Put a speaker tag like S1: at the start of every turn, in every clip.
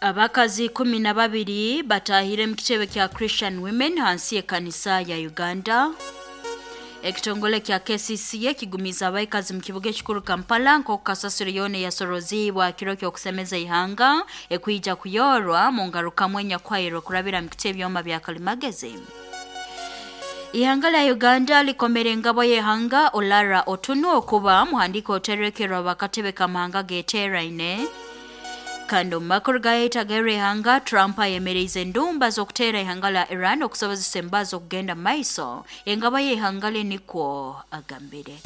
S1: Abakazi 12 batahire mu kitebe kya Christian Women hansi y'ekanisa ya Uganda. Ekitongole kya KCCA kigumiza abaikazi mu kibuga ekikuru Kampala nk'oku kasasiro yoona eyasoroziibwa kiro ky'okusemeza ihanga ekwija kuyorwa mu ngarukamu enyakwahirwe kurabira mu kiti ebyoma bya kalimagezi. Ihanga lya Uganda likomere engabo y'ihanga Olara Otunu okuba muhandika oterekerwa bakatebe kamahanga geteeraine. Kandi omu makuru gayetagere ihanga Trump ayemereize endumba z'okuteera ihanga lya Iran okusobozesa embazo okugenda mu maiso engabo y'ihanga lye nikwo agambire.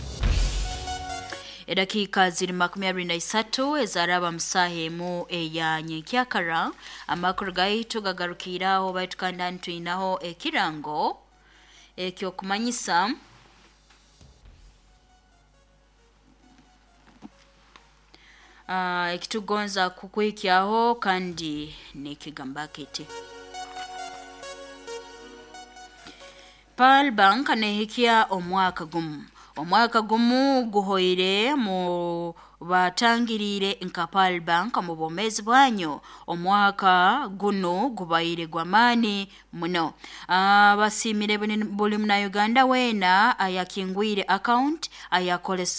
S1: Edakiika ziri 23 ezaraba mu saaha emu eya nyenkyakara. Amakuru gaitu gagarukiire aho, baitu kandi hanu twinaho ekirango ekyokumanyisa ekitugonza kukuhikyaho kandi nekigamba kiti: Pearl Bank nehikya omwaka gumu. Omwaka gumu guhoire mu batangiriire nka Pearl Bank mu bwomeezi bwanyu. Omwaka guno gubaire gw'amaani muno. Basiimire buli Munnayuganda weena ayakingwire account,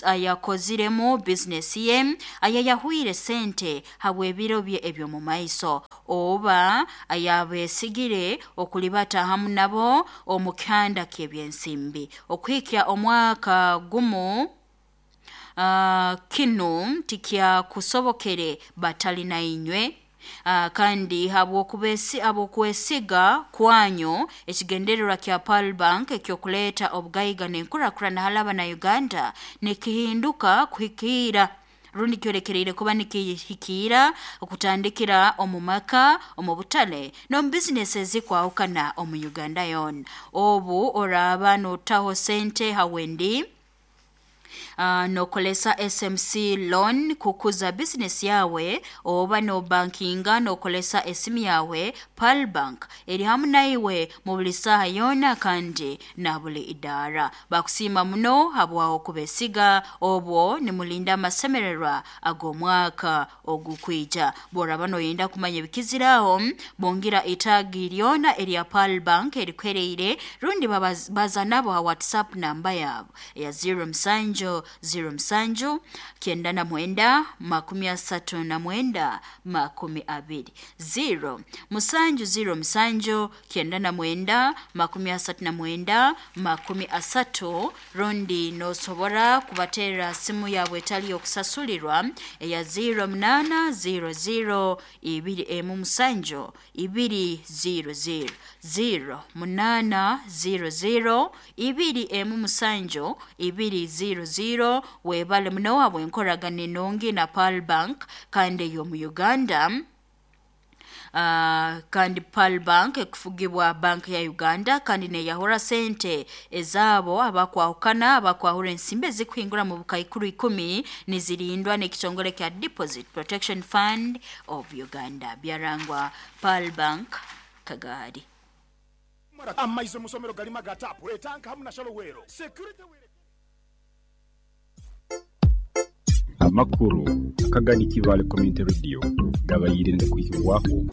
S1: ayakoziremu bizinesi ye, ayayahwire sente habw'ebiro bye eby'omu maiso, oba ayabeesigire okulibata hamu nabo omu kihanda ky'ebyensimbi. Okuhikya omwaka gumu kinu tikyakusobokere batali nainywe. Kandi habw'okwesiga kwanyu ekigendererwa kya Pearl Bank eky'okuleeta obugaiga n'enkurakurana hali Abannayuganda nikihinduka kuhikiira rundi kyolekereire kuba nikihikiira okutandikira omu maka, omu butale n'omu bizinesi ezikwahukana omu Uganda yoona. Obu oraaba nootaho sente ha Wendi, nokolesa SMC loan kukuza bizinesi yawe, oba nobankinga nokolesa esimu yawe, Pearl Bank eri hamu naiwe mu buli saaha yoona kandi na buli idaara. Bakusiima muno habwaho kubesiga obwo nimulinda amasemererwa ag'omwaka ogukwija. Bw'oraba noyenda kumanya ebikiziraho, bongira itaagi lyona erya Pearl Bank erikuhereire rundi baza nabo ha WhatsApp namba yabo eya 07 07 99 39 20, 0 7 07 99 39 30, rundi nosobora kubaterra simu yabwe etali y'okusasulirwa eya 08 00 17 200, 0 8 00 27 200. Webale muno habw'enkoragana enungi na Pearl Bank kandi ey'omu Uganda. Kandi Pearl Bank ekufugibwa Bank ya Uganda kandi neyahura sente ezaabo abakwahukana abakwahura ensimbi ezikuhingura mu bukaikuru 10 nizirindwa n'ekitongole kya Deposit Protection Fund of Uganda. Byarangwa Pearl Bank Kagaari.
S2: Amaizi mu somero galima ga taapu, etanka hamu na shalowero. Security wire.
S3: Amakuru akagani Kibaale Community Radio gabaire nigakwihibwaho.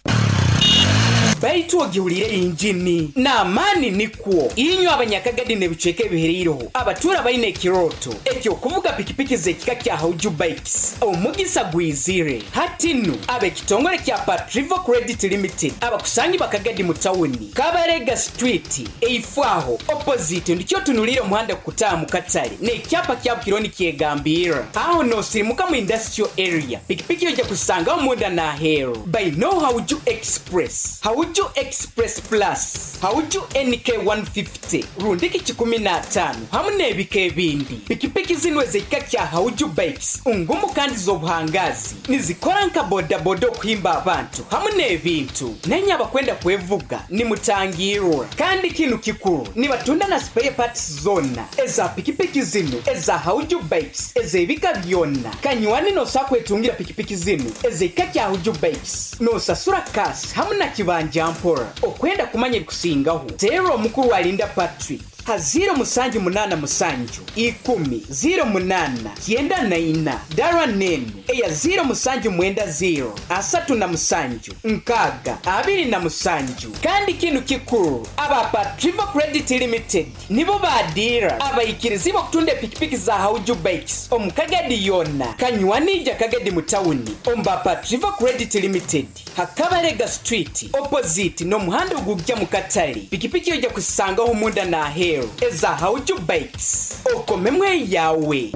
S4: Baitu ogihulire injini n'amaani nikwo inywe abanyakagadi n'ebicweka ebihereireho abatuura baine ekirooto eky'okuvuga pikipiki z'ekika kya Hauju Bikes. Omugisa gwizire hati nu ab'ekitongole kya Patrivo Credit Limited abakusangi bakagadi mu tawuni Kabarega Street eifo aho opposite ndikyo otunuliire omuhanda kukutaaha mu katale n'ekyapa kya Bukironi kyegambirra aho n'osirimuka mu industrial area. Pikipiki ojja kusangaho munda n'aheeru baino Hauju Express, Hauju Express Plus, Hauju NK 150 rundiki 105 hamu n'ebika ebindi. Pikipiki zinu ez'ekika kya Hauju Bikes ngumu kandi z'obuhangazi nizikora nka bodaboda okuhimba abantu hamu n'ebintu. Nenye abakwenda kwevuga nimutangirwa. Kandi kinu kikuru, nibatunda na spare parts zona eza pikipiki zinu eza Hauju Bikes ez'ebika byonna. Kanywani nosobola kwetungira pikipiki zinu ez'ekika kya Hauju Bikes nosasura cash hamu na kibanja mpora. Okwenda kumanya ebikusingaho, teera omukuru alinda Patrick Ha 0787 10 08 94. Dara nenu eya 0790 37 6 27. Kandi kinu kikuru, aba Patriva Credit Limited nibo badira abaikirizi okutunda epikipiki za Hauju Bikes omu Kagadi yona kanywanija Kagadi mu tawuni omba Patriva Credit Limited Hakabarega Street opposite n'omuhanda ogujja mu katale. Pikipiki ojja kusangaho munda n'aheeru eza Hauju Bikes, okomemwe yawe.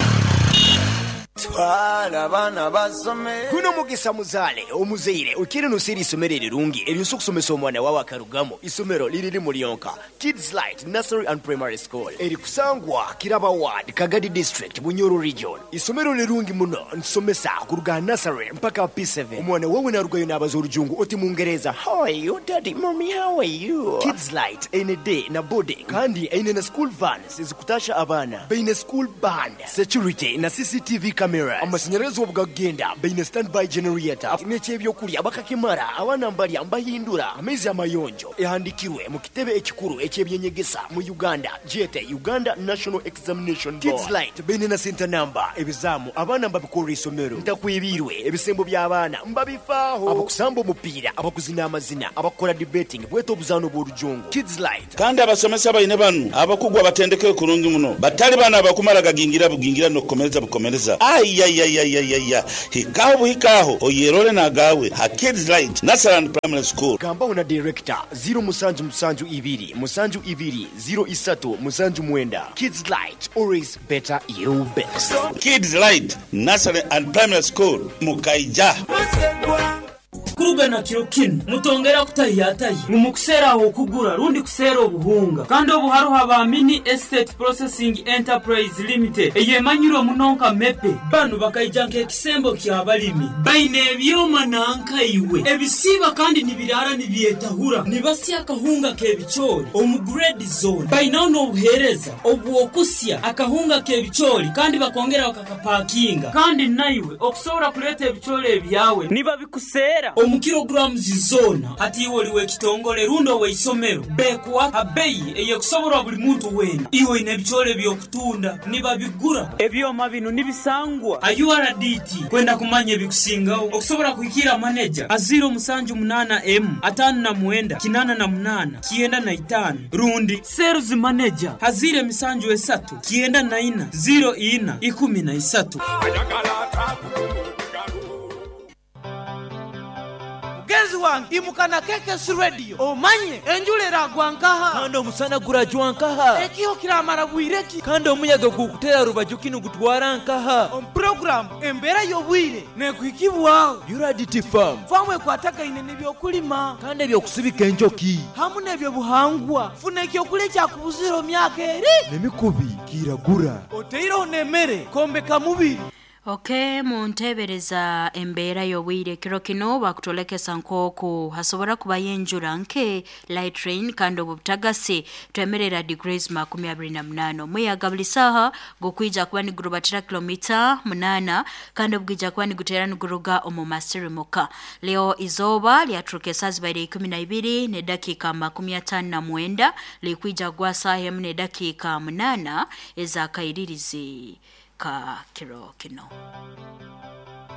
S5: Twala abaana basome.
S6: Guno mugisa muzaale omuzaire okire nosera isomero erirungi eryosa okusomesa omwana wawe akarugamu. Isomero liriri mulyonka Kids Light Nursery and Primary School erikusangwa Kiraba Ward, Kagadi District, Bunyoro Region. Isomero lirungi muno, nsomesa kuruga nursery mpaka P7. Omwana wawe narugayo nabaza orujungu oti mungereza, how are you daddy, mommy, how are you. Kids Light eine day na boarding, kandi eine na school vans ezikutasha abaana, baine school band, security na CCTV cameras, amashanyarazi obugagenda, baine standby generator, n'ekyebyokulya bakakimara, abaana mbalya mbahindura, amaizi amayonjo. Ehandikirwe mu kitebe ekikuru ekyebyenyegesa mu Uganda, jete Uganda National Examination Board. Kids Light baine na center number, ebizamu abaana mbabikorera isomero, ntakwibirwe ebisembo by'abaana mbabifaaho, abakusamba omupiira, abakuzina amazina, abakora debating, bweta obuzaano bw'orujungu. Kids Light.
S7: Kandi abasomesa baine banu abakugwa batendeke kurungi muno, batali bana abakumara gagingira bugingira n'okukomereza bukomereza. Ayayayayaya, hikaho buhikaho oyerole nagawe ha Kids Light Nursery and Primary School.
S6: Gambaho na director 0772 72 03 79. Kids Light, always better you best.
S7: Kids Light Nursery and Primary School Mukaija.
S8: Kurugana kiro kinu mutongera kutahiyatahi mumukusera aho okugura rundi kusera obuhunga, kandi obuharuha ba Mini Estate Processing Enterprise Limited eyemanyirwe munonka mepe. Banu bakaija nk'ekisembo ky'abalimi, baine ebyoma nankaiwe ebisiba kandi nibirara nibyetahura, nibasya akahunga k'ebicoori omu grade zone. Bainaho n'obuheereza obw'okusya akahunga k'ebicoori kandi bakongera bakakapakinga, kandi naiwe okusobora kuleeta ebicoori ebyawe nibabikusera omu kilograms zona. Hati iwe oliwe ekitongole rundi oweisomero, bekuwa abeyi eyekusoborwa buli muntu wena. Iwe oine ebicoori ebyokutunda nibabigura. Ebyoma bino nibisangwa a URDT. Kwenda kumanya ebikusingaho okusobora kuhikira maneja a 078 M 59 88 95 rundi sales manager a 073 94 04 13.
S9: Mugenzi wange imukana KKS Radio omanye enjura eragwa nkaha,
S10: kandi omusana gurajwa nkaha,
S9: ekiho kiramara bwireki,
S10: kandi omuyaga gukutera rubaju kinu gutwara nkaha.
S9: Omu programu embeera y'obwire nekuhikibwaho
S10: URDT Farm.
S9: Famu ekwatagaine n'ebyokulima
S10: kandi ebyokusibika enjoki
S9: hamu n'ebyobuhangwa. Funa ekyokulya ekyakubuzira myaka eri
S10: n'emikubi kiragura
S9: oteireho n'emmere kombeka mubiri.
S1: Okay, muntebereza embeera y'obwire kiro kino bakutolekesa nk'oku hasobora kubayo enjura nke light rain, kandi obutagasi twemerera degrees 28. Omuyaga buli saha gukwija kuba nigurubatira kilomita 8, kandi obwija kuba nigutera niguruga omu masirimuka. Leo izoba lyaturuka esaa zibaire 12 ne dakika 59, likwija gwa saha emu ne dakika 8 ezakairirizi ka kiro kino.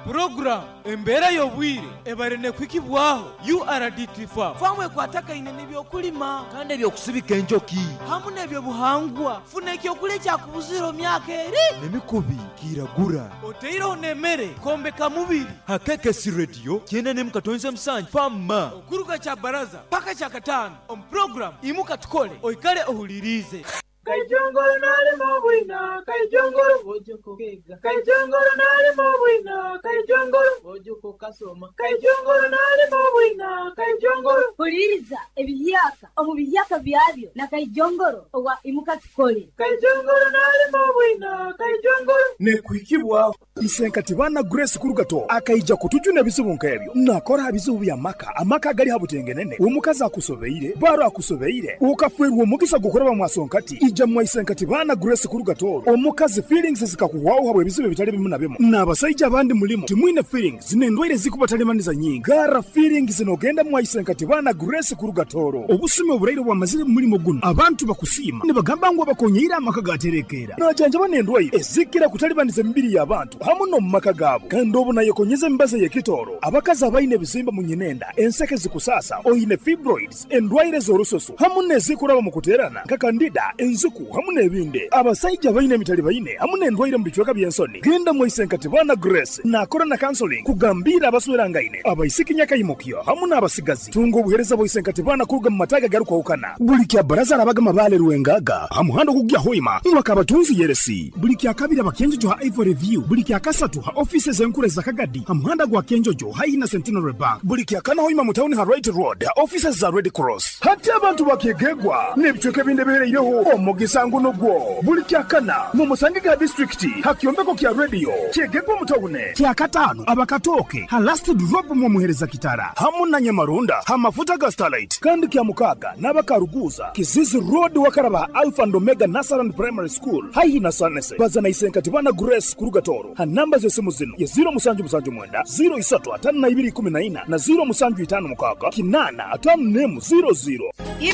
S9: Program embeera y'obwire ebare nekwikibwaho URDT Farm. Famu ekwatagaine n'ebyokulima
S10: kandi ebyokusibika enjoki
S9: hamu n'ebyobuhangwa. Funa ekyokulya ekyakubuzira myaka eri
S10: n'emikubi kiragura
S9: oteireho n'emmere kombeka mubiri.
S10: Ha KKS Radio 97.7 Fama
S9: okuruga kya baraza paka kya katano omu program imuka tukole oikale ohulirize.
S11: Kaijongoro nalimo bwina, kaijongoro bojoko kega. Kaijongoro nalimo bwina, kaijongoro bojoko kasoma. Kaijongoro nalimo bwina, kaijongoro.
S12: Huliriza ebiyaka omu biyaka byabyo na kaijongoro owa imuka tukole.
S11: Kaijongoro nalimo bwina, kaijongoro.
S2: Nekuhikibwa isenkati bana Grace Kurugato akaija kutujuna ebizibu nk'ebyo nakora ebizibu bya maka amaka gali habutengenene omukazi akusobeire baro akusobeire ukafwerwa omugisa gukoraba mwasonkati. Ija mwaise nkati baana Grace kuruga Tooro. Omukazi feelings zikakuhwaho habwa ebizibu ebitali bimu na bimu. N'abasajja abandi mulimu timwine feelings n'endwaire zikubatalimaniza nyingi. Gara feelings n'ogenda mwaise nkati baana Grace kuruga Tooro. Obusumi oburaire bwamazire mu mulimo guno. Abantu bakusiima nibagamba ngu abakonyeire amaka gaterekeera. Najanjaba n'endwaire ezikira kutalibaniza emibiri y'abantu hamu n'omu maka gaabo. Kandi obu nayekonyeza emibazi ey'ekitooro. Abakazi abaine ebizimba mu nyinenda, enseke zikusasa, oine fibroids, endwaire z'orususu hamu n'ezikuraba mu kuteerana nka kandida, enzuku hamu n'ebindi. Abasajja baine emitali baine hamu n'endwaire mu bicweka by'ensoni. Genda mwaise nkati baana Grace nakora na counseling kugambira abaswerangaine, abaisiki nyakaimukyo hamu n'abasigazi. Tunga obuheereza bwaise nkati baana kuruga mu mataga garukwahukana. Buli kya baraza arabaga mabale Rwengaga ha muhanda ogugya Hoima mwaka abatunzi yeresi. Buli kya kabiri abakenjojo ha Ivory View. Buli kya kasatu ha offices enkuru za Kagadi ha muhanda gwa Kenjojo haihi na Centenary Bank. Buli kya kana Hoima mu town ha Right Road ha offices za Red Cross. Hati abantu bakegegwa n'ebicweka ebindi ebihereireho omugisa nguno gwo. Buli kya kana mu musange ga district ha kyombeko kya radio kyegegwa mu tawune. Kya katano abakatoke ha last drop mu muhereza kitara hamu na Nyamarunda ha mafuta ga Starlight. Kandi kya mukaga n'abakaruguza Kizizi Road wakaraba Alpha and Omega Nasaran Primary School haihi na Sanese. Bazana isenkati bana Grace kuruga Toro ha namba z'esimu zino ya 0779 03 5214 na 0756 8 00.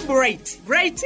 S4: Bright Bright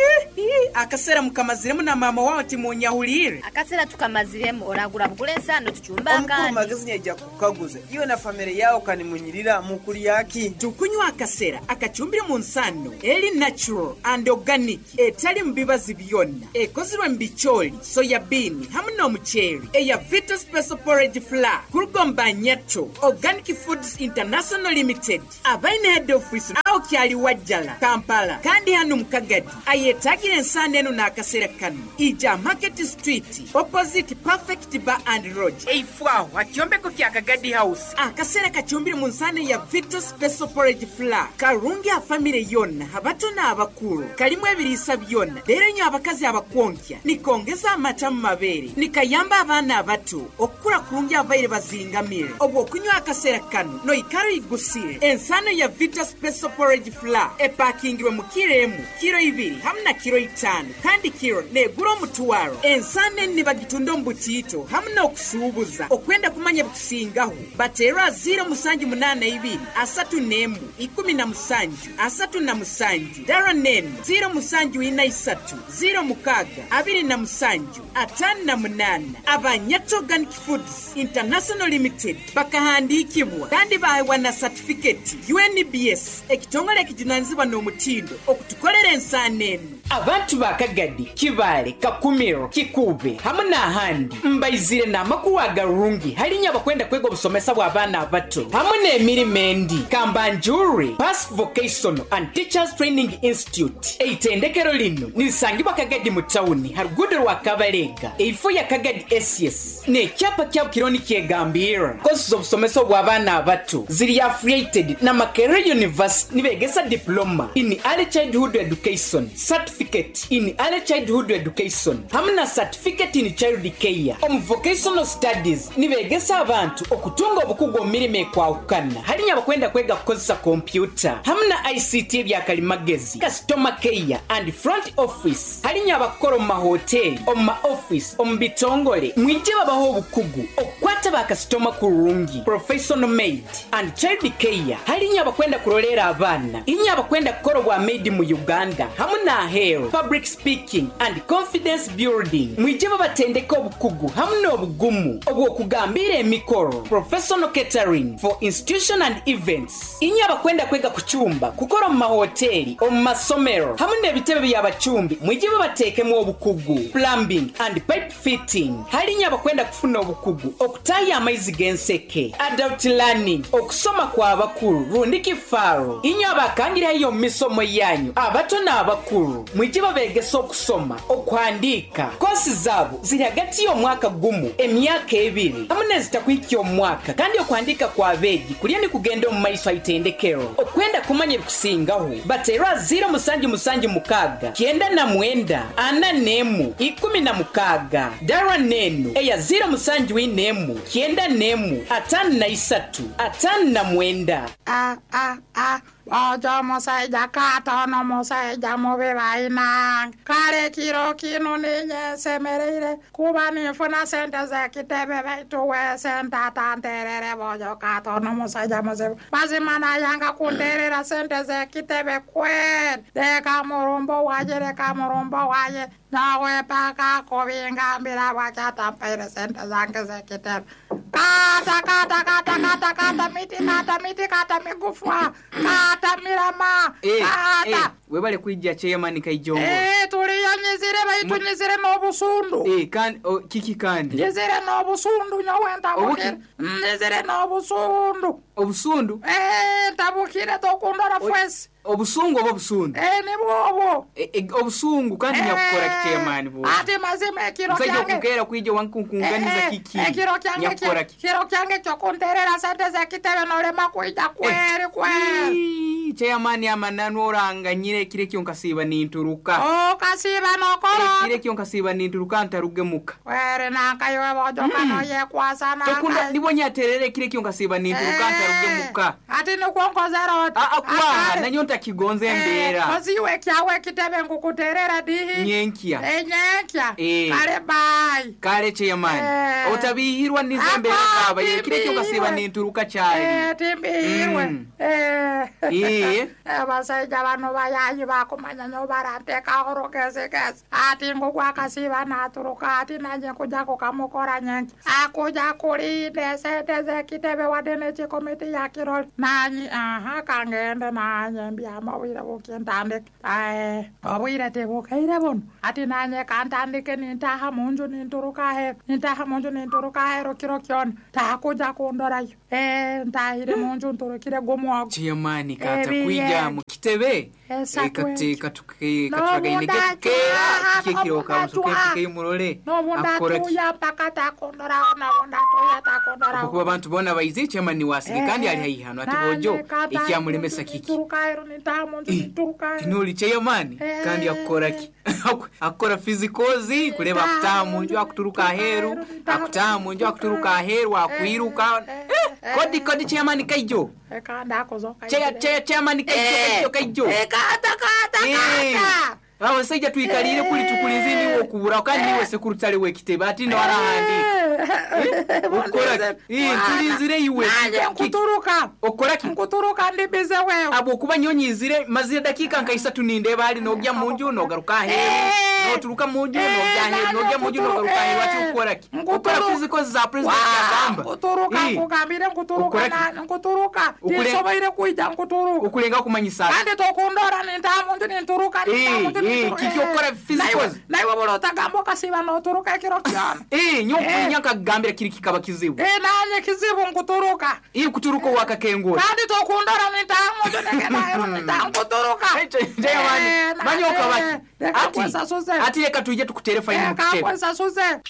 S4: akasera mukamaziremu na mama wawe timunyahulire.
S5: Akasera tukamaziremu oragura bugule ensano tuchumba
S13: Omukuru
S5: akandi.
S13: magezi nyaija kukaguza iwe na famire yawo kanimunyirira mukuli yaki.
S4: Tukunywa akasera akachumbire mu nsano eri natural and organic etali mu bibazi byonna ekozirwe mu bicholi soya bean hamu n'omuceeri eya Vita Special Porridge Flour kurugomba Nyato Organic Foods International Limited abaine head office aho kyali Wajjala Kampala kandi hano mu Kagadi ayetagire ensano eno n'akaseera kano ija Market Street opposite Perfect Bar and Lodge eifwaho akyombeko kya Kagadi House. Akaseera kachumbire mu nsano ya Vita Special Porridge Flour karungi a famire yonna abato n'abakulu kalimu ebiriisa byonna leero nnyo abakazi abakwonkya nikongeza amata mu mabeere nikayamba abaana abato okukula kurungi abaire bazingamire obwo okunywa akaseera kano noikara igusire. Ensano ya Vita Special Porridge Flour epakingirwe mu kiro emu kiro ibiri hamu na kiro itaano kandi kiro negura omutwaro. Ensano eni nibagitunda omu butiito hamu n'okusuubuza. Okwenda kumanya bikusingaho bateerwa 0782 31 17 37 dara nenu 0743 06 27 58. Abanyato Organic Foods International Limited bakahandikibwa kandi baheebwa na certificate UNBS ekitongole ekijunanizibwa n'omutindo okutukolera ensaano eno. Abantu ba Kagadi, Kibaale, Kakumiro, Kikuube hamu n'ahandi mbaizire n'amakuru agarungi halinya abakwenda kwega obusomesa bw'abaana abato hamu n'emirimo endi. Kambanjuri Pass Vocational and Teachers Training Institute eitendekero lino nirisangibwa Kagadi mu tawuni ha ruguudo rwa Kabalega eifo ya Kagadi SS n'ekyapa kyabo kiriho nikyegambirra. Kosi z'obusomesa obw'abaana abato ziri affiliated na Makerere University nibegesa diploma in early childhood education, certificate in early childhood education hamu na certificate in child care. Omu vocational studies nibegesa abantu okutunga obukugu omu mirimo ekwahukana halinya abakwenda kwega kukozesa kompyuta hamu na ICT ebyakalimagezi, customer care and front office halinya abakukora omu mahoteri, omu ma office, omu bitongole mwije babaho obukugu okukwata bakasitoma kurungi, professional maid and child care halinya abakwenda kurolera abaana inya abakwenda kukora obwa maid mu Uganda hamu n'aheeru, public speaking and confidence building mwije babatendeka obukugu hamu n'obugumu obw'okugambira emikoro, professional catering for institution and events inya abakwenda kwega kucumba kukora omu mahoteri, omu masomero hamu n'ebitebe by'abacumbi mwije babateekemu obukugu, plumbing and pipe fitting halinya abakwenda kufuna obukugu okutaya amaizi g'enseke, adult learning okusoma kw'abakulu rundi kifaaro inya abakangirayo omu misomo yanyu abato n'abakulu mwije babegesa okusoma okuhandiika. Kosi zaabo ziri hagati y'omwaka gumu emyaka ebiri hamu n'ezitakuhikya omwaka kandi okuhandiika kw'abeegi kulya nikugenda omu maiso haitendekero. Okwenda kumanya ebikusingaho bateerwa 0776 99 41 16 dara nenu eya 0741 91 53 59.
S14: A A A. Ojo musaija katono musaija mubi bainange. Kale kiro kino ninye nsemereire kuba ninfuna sente z'ekitebe baitu we sente atanterere bojo katono musaija muzibu. Mazima nayanga kunterera sente z'ekitebe kweli. Leka murumbo waje, leka murumbo waje. Nawe paka kubingambira bwakyatampeire sente zange z'ekitebe. Kata, kata, kata, kata, kata, miti, kata, miti, kata, migufwa, kata, mirama, kata.
S4: Webale kwijja chairman Kaijongo.
S14: Tuliyo nyizire baitu nyizire n'obusundu.
S4: Kandi kiki kandi?
S14: Nyizire n'obusundu nyowe ntabukire. Nyizire n'obusundu.
S4: Obusundu?
S14: Ntabukire tokundora fwesi.
S4: Obusungu oba obusundu?
S14: Nibwo obwo.
S4: Obusungu kandi nyakukora ki chairman bo?
S14: Ati mazima ekiro
S4: kyange. Musajja okukera kwijja wankunkunganiza kiki?
S14: Ekiro kyange. Kiro kyange kyokunterera sente z'ekitebe nolema kwijja kweri kweri.
S4: Chairman amananu oranganyire ekiro ekyo nkasiiba ninturuka.
S14: Okasiiba nokora.
S4: Ekiro ekyo nkasiiba ninturuka ntarugemuka.
S14: Kweri nankayiwe bojoka noyekwasa nankayi.
S4: Tokunda nibwo nyaterere ekiro ekyo nkasiiba ninturuka ntarugemuka.
S14: Ati nikwo nkozera oti.
S4: Akwaha nanyo ntakigonza embeera.
S14: Oziwe kyawe ekitebe nkukuterera dihi.
S4: Nyenkya.
S14: Nyenkya. Kale bye.
S4: Kale chairman. Otabihirwa nizo embeera zaba. Ekiro ekyo nkasiiba ninturuka kyali.
S14: Timbihirwe. Abasajja bano bayayi bakumanya nyo barantekaho rugezigezi. Ati ngugwakasiba naturuka ati nanye kuja kukamukora nyenki. Akuja kulinda sente z'ekitebe wadde n'ekikomiti ya kiroli. Nanyi aha kangende nanye mbyama obwire bukintandike. Obwire tebukaire buno. Ati nanye kantandike nintaha munju ninturuka aheru. Nintaha munju ninturuka aheru kiro kyona. Takuja kundorayo. Ntahire munju nturukire gumwogo.
S4: Chairman kata kwijja mu kitebe. Katukagaine kera kikiro kamusoke murole.
S14: Akora paka takondoraho nabunda takondoraho.
S4: Kuba abantu bona baize chairman wasige kandi ali haihi hano ati bojo ekyamulemesa kiki. Tinoli chairman kandi akora ki? Akora physicals kuleba akutaha munju akuturuka aheru, akutaha munju akuturuka aheru akwiruka. Kodi kodi chairman Kaijo. Chairman Kaijo Kaijo.
S14: Kata kata kata.
S4: Abasajja tuikalire kuli tukulinzi niwo kubura kandi niwe sekurutale wekitebe ati ndo arahandi. Ukora tulinzire iwe.
S14: Nkuturuka.
S4: Okora ki?
S14: Nkuturuka ndi bize wewe.
S4: Abo kuba nyonyizire mazire dakika nka 3 nindeba ali nogya munju nogaruka aheru. Noturuka munju nogya aheru nogya munju nogaruka aheru ati ukora ki? Ukora physicals za president yagamba.
S14: Nkuturuka nkugambire nkuturuka na nkuturuka. Tisoboire kuija nkuturuka.
S4: Ukulenga kumanyisa.
S14: Kandi tokundora nintamunju ninturuka nintamunju.
S4: Kiki okora physicals.
S14: Naiwe bolo otagamba okasiba noturuka ekiro kyona.
S4: Nyokunya nkagambira kiri kikaba kizibu.
S14: Nanye kizibu nkuturuka.
S4: Kuturuka wakakengura.
S14: Kandi tokundora nintamunju nengenda nintankuturuka.
S4: Chairman, manyoka baki. Ati reka tuje tukutere faini mu kitebe.
S14: Kakwesasuze.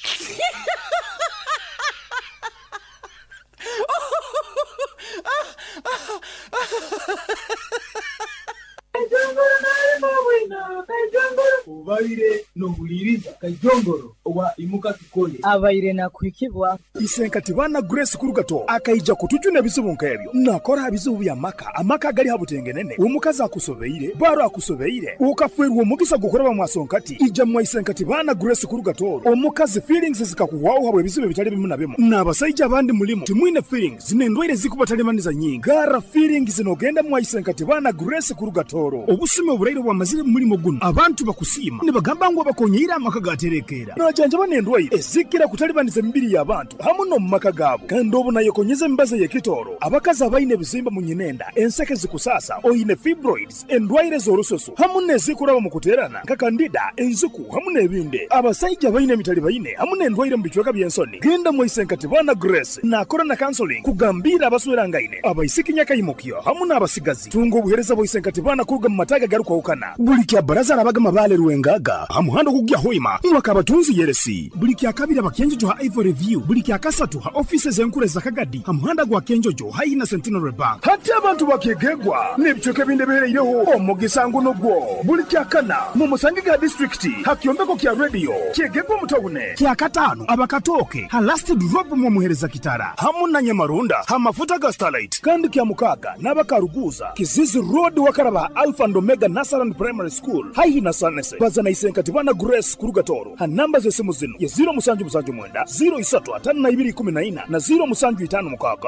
S11: Ubaire nohuliriza Kajongoro owa imuka kikole
S13: abaire nakuhikibwa
S2: Isenkati bana Grace Kurugato akaija kutujuna ebizibu nkebyo nakora ebizibu bya maka amaka gali habutengenene omukazi akusobeire baro akusobeire ukafwerwa omugisa gukoraba mwasonkati ija mwa Isenkati bana Grace Kurugato omukazi feelings zikakuwaho habwe ebizibu bitali bimu na bimu n'abasajja abandi mulimu timwine feelings n'endwaire zikubatalibaniza nyingi gara feelings nogenda mwa Isenkati bana Grace Kurugatoro obusime oburaire bwamazire mulimo guno abantu bakusima nibagamba ngu abakonyeire amaka gaterekera najanja banendwaire ezikira kutalibaniza emibiri y'abantu hamu no mu maka gaabo kandi obu nayekonyeza emibazi ey'ekitooro abakazi abaine ebizimba mu nyinenda enseke zikusasa oine fibroids endwaire z'orususu hamu n'ezikuraba mu kuteerana nka kandida enziku hamu n'ebindi abasaija baine emitali baine hamu n'endwaire mu bicweka by'ensoni genda mwisenkati bana Grace nakora na counseling kugambira abaswerangaine abaisiki nyakaimukyo hamu n'abasigazi tunga obuhereza bw'isenkati bana kuruga mu mataga garukwawukana buli kya baraza arabaga mabale rwengaga hamuhando kugya hoima mwaka abatunzi Teresi. Buli kyakabiri abakenjojo ha Ivory View. Buli kyakasatu ha offices enkuru za Kagadi ha muhanda gwa Kenjojo haihi na Centenary Bank. Hati abantu bakegegwa n'ebicweka ebindi ebihereireho omugisa nguno gwo. Buli kyakana mu musange ga district ha kyombeko kya radio kyegegwa mutawune. Kyakataano abakatooke ha last drop mu muhereza kitara hamu na Nyamarunda ha mafuta ga Starlight. Kandi kya mukaaga n'abakaruguza Kizizi Road wakaraba Alpha and Omega Nursery Primary School haihi na Sanese. Bazana isenkati bana Grace Kurugatoro ha namba z'esimu zino ye 0779 035214 na 0756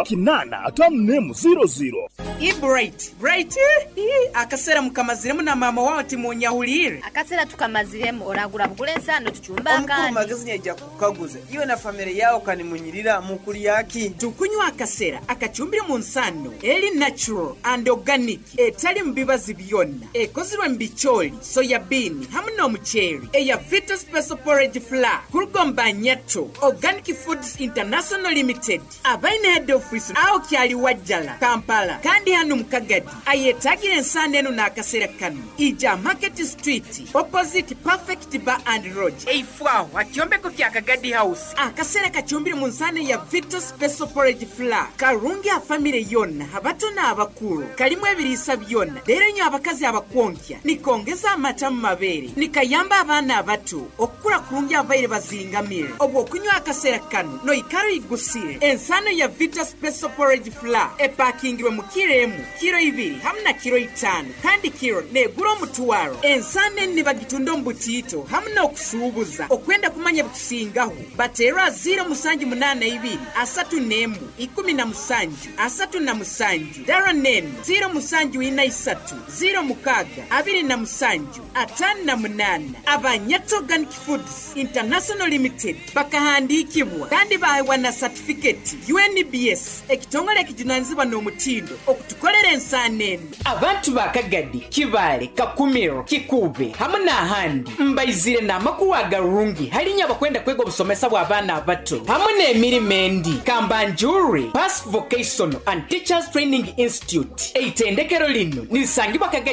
S2: 854 00.
S4: Bright Bright, akasera mukamaziremu na mama wawe timunyahulire.
S5: Akasera tukamaziremu oragura bugule ensano tucumba.
S13: Omukuru
S5: Akandi
S13: magezi yaija kukaguza iwe na famire yawe kanimunyirira mukulyaki.
S4: Tukunywa akasera akacumbire mu nsano eri natural and organic, etali mu bibazi byonna, ekozirwe mu bicooli, soya bean hamu n'omuceeri, eya Vita Special Porridge Flour kurugomba Nyato Organic Foods International Limited, abaine head office aho kyali Wajjala, Kampala. Kandi hano mu Kagadi ayetagira ensano eno n'akasera kano ija Market Street opposite Perfect Bar and Lodge, eifwaho akyombeko kya Kagadi House. Akasera kacumbire mu nsano ya Vita Special Porridge Flour karungi afamire yonna, abato n'abakulu. Kalimu ebiriisa byonna, leero nyo abakazi abakwonkya, nikongeza amata mu mabeere, nikayamba abaana abato okukula kurungi abaire bazingamire. Obwo okunywa akaseera kano noikara oyigusire. Ensano ya Vita Special Porridge Flour epakingirwe mu kiro emu, kiro 2 hamu na kiro 5, kandi kiro negura omutwaro. Ensano eni nibagitunda omu butiito hamu n'okusuubuza. Okwenda kumanya bikusingaho bateerwa 0782 31 17 37, dara nenu 0743 06 27 58. Abanyato Organic Foods International Limited bakahandikibwa kandi bahewa na satifiketi UNBS, ekitongole ekijunanizibwa n'omutindo okutukolera ensaano eno. Abantu ba Kagadi, Kibaale, Kakumiro, Kikuube hamu n'ahandi, mbaizire n'amakuru agarungi halinya abakwenda kwega obusomesa bw'abaana abato hamu n'emirimo endi. Kambanjure Pass Vocational and Teachers Training Institute, eitendekero lino nirisangibwa Kagadi.